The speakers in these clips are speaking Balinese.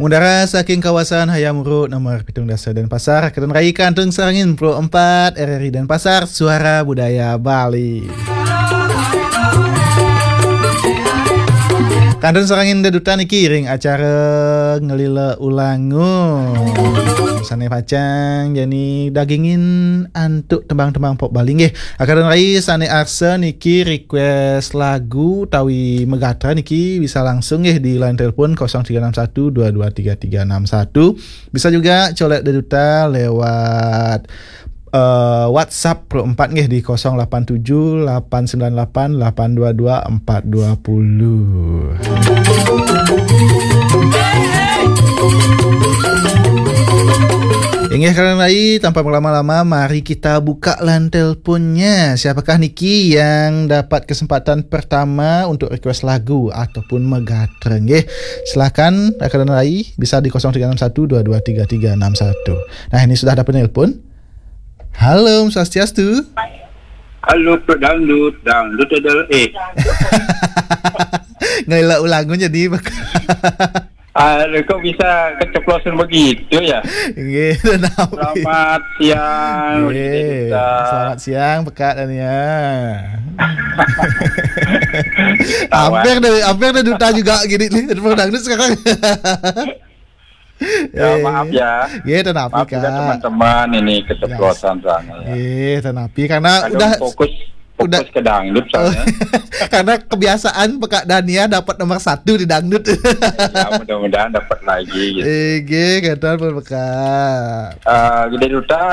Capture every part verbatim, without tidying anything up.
Mudara saking kawasan Hayam Wuruk nomor pitung dasa Denpasar, kantun rai kantun sareng Pro empat R R I Denpasar, Suara Budaya Bali. Kantun sareng Ida Duta niki ring acara Ngelila Ulangun. Sane pacang jani dagingin antuk tembang-tembang pop Bali nggih. Kantun rai sane arsa niki request lagu utawi megatra niki bisa langsung nggih di line telepon kosong tiga enam satu dua dua tiga tiga enam satu. Bisa juga colek Ida Duta lewat eh, WhatsApp Pro empat nggih di kosong lapan tujuh lapan sembilan lapan lapan dua dua empat dua puluh. Inggih, kantun rai, tanpa berlama-lama, mari kita buka line teleponnya. Siapakah niki yang dapat kesempatan pertama untuk request lagu ataupun megatra nggih? Silakan, kantun rai, bisa di kosong tiga enam satu dua dua tiga tiga enam satu. Nah, ini sudah ada penelpon. Halo, Om Swastiastu. Halo, Pro Dangdut, Dangdut adalah, eh. Ngelak ulangun jadi. Aduh, kok bisa keceplosan begitu ya? Nggih, tenang. Selamat siang, Nggih, Ida Duta. Selamat siang, Pekak Dania. Hampir deh, hampir deh Duta juga gini nih, Pro Dangdut sekarang. Ya, eh, maaf ya. Nggih, tenang, maaf juga Kak. Teman-teman, ini keceplosan soalnya ya. Nggih, tenang, karena kadang udah fokus, fokus udah ke dangdut soalnya. Karena kebiasaan Pekak Dania dapat nomor satu di dangdut. Ya, mudah-mudahan dapat lagi gitu. Nggih, kantun pun Pekak. Eh, Ida Duta,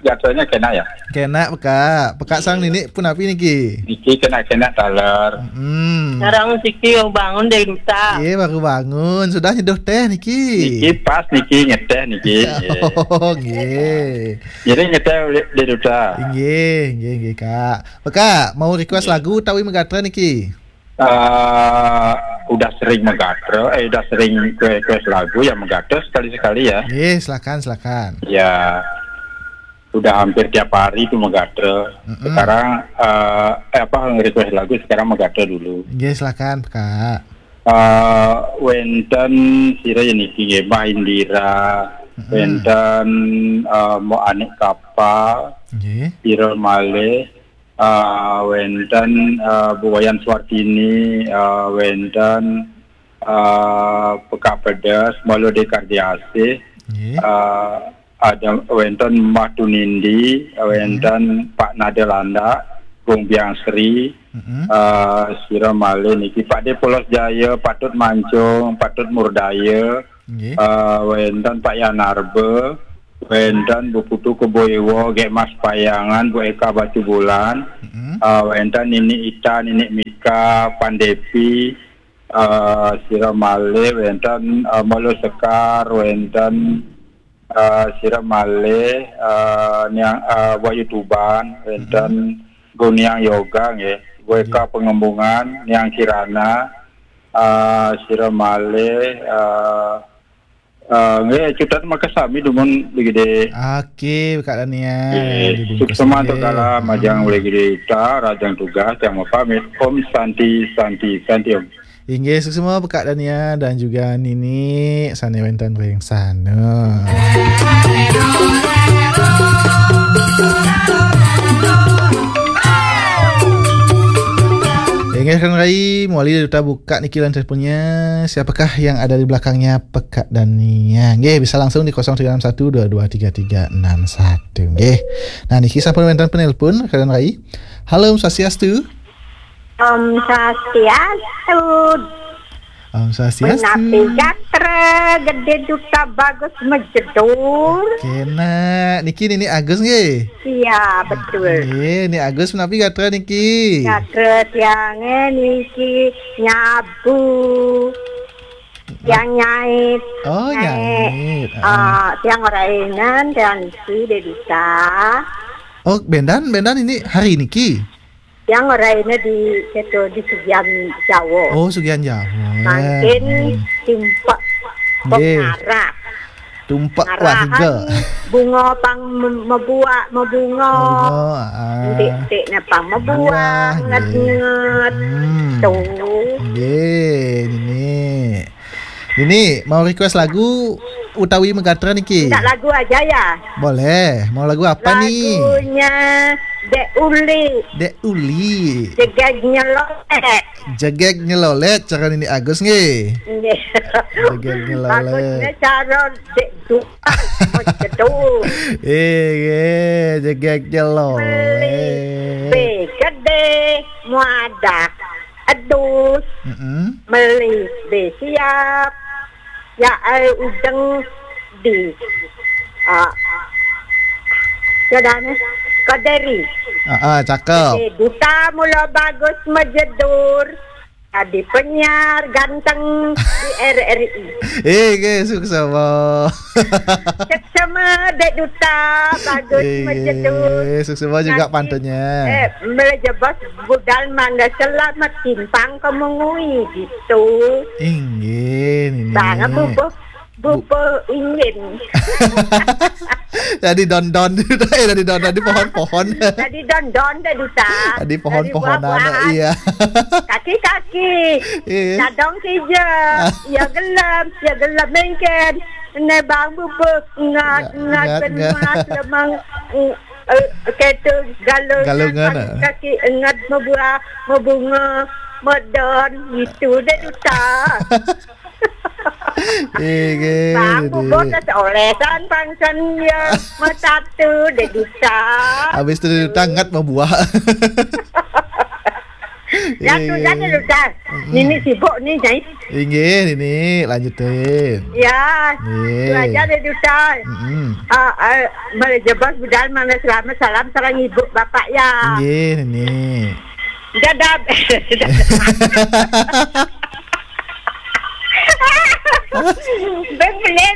jadwalnya kena ya? Kena, Pekak. Pekak sareng Nini pun api niki? Niki kena-kena taler. Hmm. Sareng siki baru bangun deh, Duta. Iya, baru bangun. Sudah nyeduh teh niki? Niki pas niki ngeteh niki. Oh, nggih. Jadi ngeteh deh, Duta. Nggih, nggih, nggih, Kak. Pekak, mau request lagu utawi megatra niki? Eh, udah sering megatra, eh, udah sering request lagu ya megatra sekali-sekali ya. Nggih, silakan, silakan. Ya, udah hampir tiap hari tuh megatra. Mm-mm. Sekarang eh, eh, apa, nge-request lagu sekarang megatra dulu. Nggih, silakan, Kak. Eh, wenten sira ya niki nggih, Mbah Indira, mm-mm, wenten eh, Mbok Anik Kapal, nggih, sira malih eh, wenten eh, Bu Wayan Suartini, eh, wenten eh, Pekak Pedes, Mbah Lode Kardiasih, nggih, eh, ada wenten Mbah Tunindi, eh, mm-mm, wenten Pak Nadelanda, Gung Biang Sri, mm-mm, eh, sira malih niki Pak De Polos Jaya, Patut Mancung, Patut Murdaya, nggih, eh, wenten Pak Yanarbe, wenten Bu Putu Keboiwo, Gek Mas Payangan, Bu Eka Batubulan, mm-mm, eh, wenten Nini Ita, Nini Mika, Pandepi, eh, sira malih wenten eh, Molo Sekar, wenten eh, sira malih eh, Niang eh, Wahyu Tuban, wenten, mm-mm, Guniang Yoga nggih, Weka, nggih, Pengembungan, Niang Kirana, eh, sira malih eh, eh, nggih, cutet makasami dumun Bli Gede. Oke, Kak Dania. Nggih, dibungkus suksema nggih. Antuk kala majeng, mm-mm, Bli Gede Ita, rajang tugas, yang mau pamit. Om Santi, Santi, Santi Om. Inggih, suksema Pekak Dania dan juga Nini sane wenten ring sana. Inggih, kantun rai, mawali Ida Duta buka niki line teleponnya. Siapakah yang ada di belakangnya Pekak Dania? Nggih, bisa langsung di kosong tiga enam satu dua dua tiga tiga enam satu. Nggih. Nah, niki sampun wenten penelpon, kantun rai. Halo, Om Swastiastu. Om Swastiastu. Om Swastiastu. Menapi gatra Gede Duta Bagus Majedur? Kena, niki Nini Agus nggih? Iya, betul. Nggih, Nini Agus menapi gatra niki? Gatra tiange niki nyabu. Tiang nyait. Oh, nyait. Nyait. Ah, ah, tiang ora inen, tiang isi, Ida Duta. Oh, bendan, bendan ini hari niki? Tiang ora inen di, keto di Sugian Jawa. Oh, Sugian Jawa. Mangkin, hmm, timpek. Nggih. Pengarap. Tumpek. Ngarahan warga. Bunga pang me-, mebuak, mebunga. Mebunga, ah. Entik-entikne pang mebuak, buah, nggih, nget-nget. Hmm. Tuh. Nggih, Nini. Ini mau request lagu utawi megatra niki? Minta lagu aja ya. Boleh. Mau lagu apa ni? Lagunya Dek Uli. Dek Uli. Jegeg Nyelolet. Jegeg Nyelolet, cara Nini Agus nggih. Nggih. Jegeg Nyelolet. Bagusnya cara Dek Dupa. Betul. Eh, nggih, Jegeg Nyelolet. Meli B gede, muadak. Adus. Mm-mm. Meli B siap. Ya, eh, udeng di. Ah. Jadane Kaderi. Ah, ah, cakep. Dek Duta mula bagus majedur. Jadi penyiar ganteng di R R I. Eh, nggih, suksema. Suksema Dek Duta, bagus. Eh, majedur. Suksema juga pantunnya. Eh, melejebos budal mangga selamat timpang kemengui gitu. Inggih, Nini. Bang, apa, Bu? Bupe ingin. Tadi don-don. Eh, tadi don-don di pohon-pohon. Tadi don-don, Dek Duta. Tadi pohon-pohonan, buah-buahan. Iya. Kaki-kaki. Iya. Dadong kija. Ya gelem, ya gelem mengken. Ne bang bupe ngat, ngat, ngat, ngat. Mas lemang, mm, eh, ketu galungan, galungan, ah. Kaki ngat, mebuah, mebunga, medon, gitu, Dek Duta. Inggih, Bang, Dek. Bubur kesolesan pangsen ya, metatu, Dek Duta. Habis tu Dek Duta ngat membuah. Ya, tu saja, Dek Duta. Mm-mm. Nini sibuk ni, Nyai. Inggih, Nini, lanjutin. Ya, nggih. Tu aja, Dek Duta. Mm-mm. Ah, ah, boleh jebos budal, mana selamat, salam sareng ibu bapak ya. Inggih, Nini. Dadah. Bang pelih.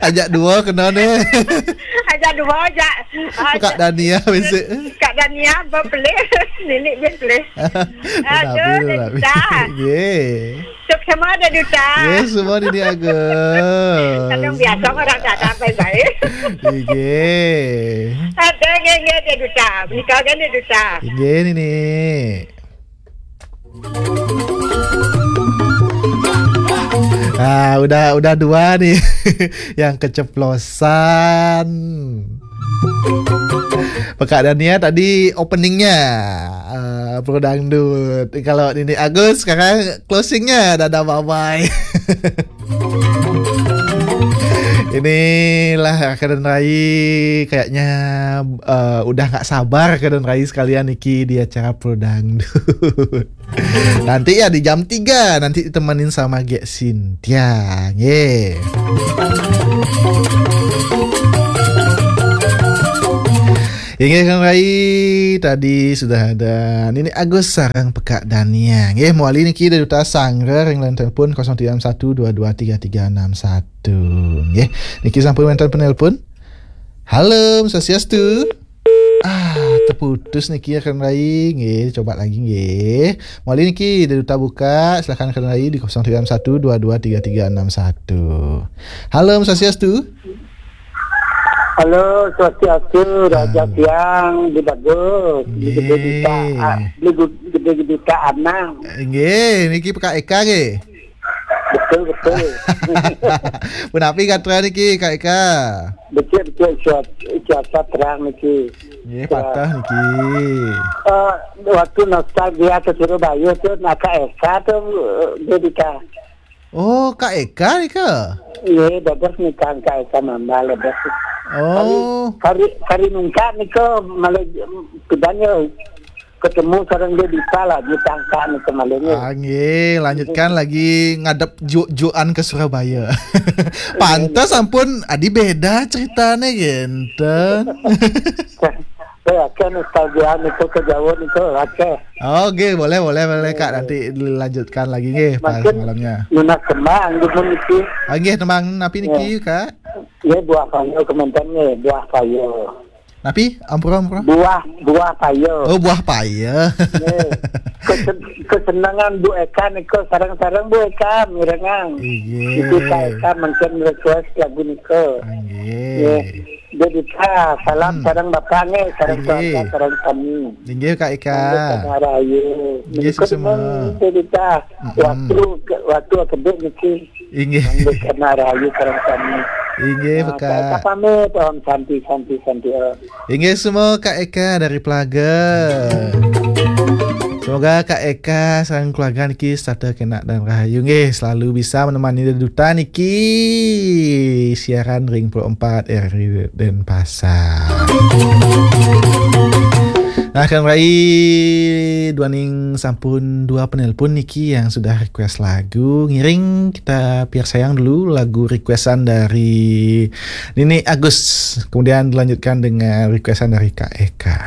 Ajak dua kena ni. Ajak dua, ajak. Kak Dania bisi. Kak Dania, bang pelih. Nini bang pelih. Aduh, Dek Duta. Ye. Suksema, Dek Duta. Ye, semua Nini Agus. Kadang biasa orang tak ada baik-baik. Ye. Ada geng-geng, Dek Duta. Menikah kan, Dek Duta. Ye, Nini. Ah, udah, udah dua nih yang keceplosan. Pekak Dania tadi openingnya, eh, Pro Dangdut. Kalau Nini Agus sekarang closingnya, dadah bye-bye. Inilah Kak dan Rai, kayaknya, eh, udah nggak sabar Kak dan Rai sekalian niki di acara Pro Dangdut. Nanti ya di jam tiga, nanti ditemenin sama Gek Sintia. Ye. Inggih, Kang Rai, tadi sudah ada Nini Agus sareng Pekak Dania. Nggih, mewali niki dari Duta Sanggar yang line telepon kosong tiga enam satu dua dua tiga tiga enam satu. Nggih, niki sampun wenten penelpon. Halo, Swastiastu. Ah, terputus niki ya, Kang Rai. Nggih, coba lagi nggih. Mewali niki dari Duta Buka, silakan Kang Rai di kosong tiga enam satu dua dua tiga tiga enam satu. Halo, Swastiastu. Halo, Swastiastu, Raja Siang, di bagus, di Gede Duta, ah, di Gu-, Gede Duta Anang. Nggih, niki Kak Eka nggih. Betul, betul. Punapi gatra niki, Kak Eka? Becik, becik, cuaca, cuaca terang niki. Nggih, patah niki. Eh, waktu nostalgia ke Surabaya tu, nak Kak Eka tu, eh, dia Duta. Oh, Kak Eka nika? Iya, dados nika Kak Eka Mamba, dados. Oh. Kari, kari, kari nungkak nika malah pidanya ketemu sareng dia Dita lah, ditangkak nika malahnya. Ah, nggih, lanjutkan lagi ngadep juk-jukan ke Surabaya. Pantes ampun, adi beda ceritane, genten. Saya akan nostalgia nika ke Jawa nika, oke. Oke, boleh, boleh, boleh, Kak. Nanti dilanjutkan lagi nggih pas malamnya. Mungkin nunas tembang, gitu, niki. Ah, nggih, tembang napi niki, Kak? Nggih, buah payo kemanten nggih, buah payo. Napi? Ampura, ampura. Buah, buah payo. Oh, buah payo. Nggih. Kesen-, kesenangan Bu Eka nika, sareng-sareng Bu Eka mirengang. Nggih. Itu Kak Eka mungkin request lagu nika. Nggih. Nggih. Dedika, salam Hmm. sareng Bapak nggih, sareng Inggih. Keluarga, sareng sami. Inggih, Kak Eka. Nggih, Kak Rahayu. Inggih, Niku sesama. Memang Dedika, Mm-mm. waktu ke, waktu kedek niki. Inggih. Nggih, Kak Rahayu, sareng sami. Inggih, Nah, Kak. Kak Eka pamit, Om Santi, Santi, Santi, Om. Inggih, semua Kak Eka dari Pelaga. Semoga Kak Eka sareng keluarga niki setata kenak dan rahayu nggih, selalu bisa menemani deduta niki siaran ring puluh empat R R I Denpasar. Nah, Kang Rai, duaning sampun dua penelpon niki yang sudah request lagu. Ngiring kita piarsayang dulu lagu requestan dari Nini Agus. Kemudian dilanjutkan dengan requestan dari Kak Eka.